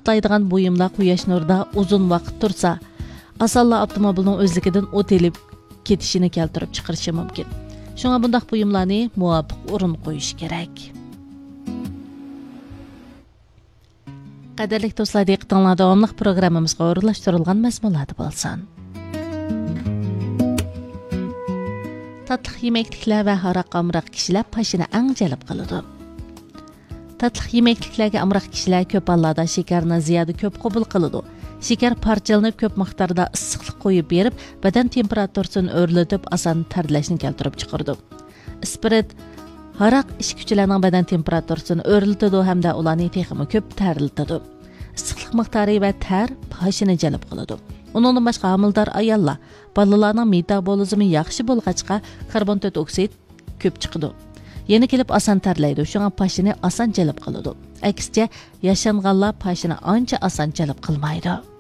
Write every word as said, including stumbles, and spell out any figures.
ئوتلايدىغان بۇيۇملار قۇياش نۇرىدا ئۇزۇن ۋاقىت تۇرسا، ئاسانلا ئاپتوموبىلنىڭ ئۆزلۈكىدىن ئوت ئېلىپ كېتىشىنى كەلتۈرۈپ چىقىرىشى مۇمكىن. شۇڭا بۇنداق بۇيۇملارنى مۇۋاپىق ئورۇن قويۇش كېرەك. قەدىرلىك دوستلار، دىققىتىڭلار داۋاملىق پروگراممىمىزغا ئورۇنلاشتۇرۇلغان مەزمۇنلاردا بولسۇن. تاتلىق يېمەكلىكلەر ۋە ھاراققا ئامراق كىشىلەر پاشىنى ئەڭ جەلپ قىلىدۇ. تاتلىق يېمەكلىكلەرگە ئامراق كىشىلەر كۆپ ھاللاردا شېكەرنى زىيادە كۆپ قوبۇل قىلىدۇ. شېكەر پارچىلىنىپ، كۆپ مىقداردا ئىسسىقلىق قويۇپ بېرىپ، بەدەن تېمپېراتۇرىسىنى ئۆرلىتىپ، ئاسان تەرلەشنى كەلتۈرۈپ چىقىرىدۇ. ئىسپىرت، ھاراق ئىچكۈچىلەرنىڭ بەدەن تېمپېراتۇرىسىنى ئۆرلىتىدۇ ھەمدە ئۇلارنى تېخىمۇ كۆپ تەرلىتىدۇ. ئىسسىقلىق مىقدارى ۋە تەر پاشىنى جەلپ قىلىدۇ. ئۇنىڭدىن باشقا، ھامىلىدار ئاياللار، بالىلارنىڭ مېتابولىزمى ياخشى بولغاچقا، كاربون تۆت ئوكسىد كۆپ چىقىدۇ. يەنە كېلىپ ئاسان تەرلەيدۇ، شۇڭا پاشىنى ئاسان جەلپ قىلىدۇ. ئەكسىچە، ياشانغانلار پاشىنى ئانچە ئاسان جەلپ قىلمايدۇ.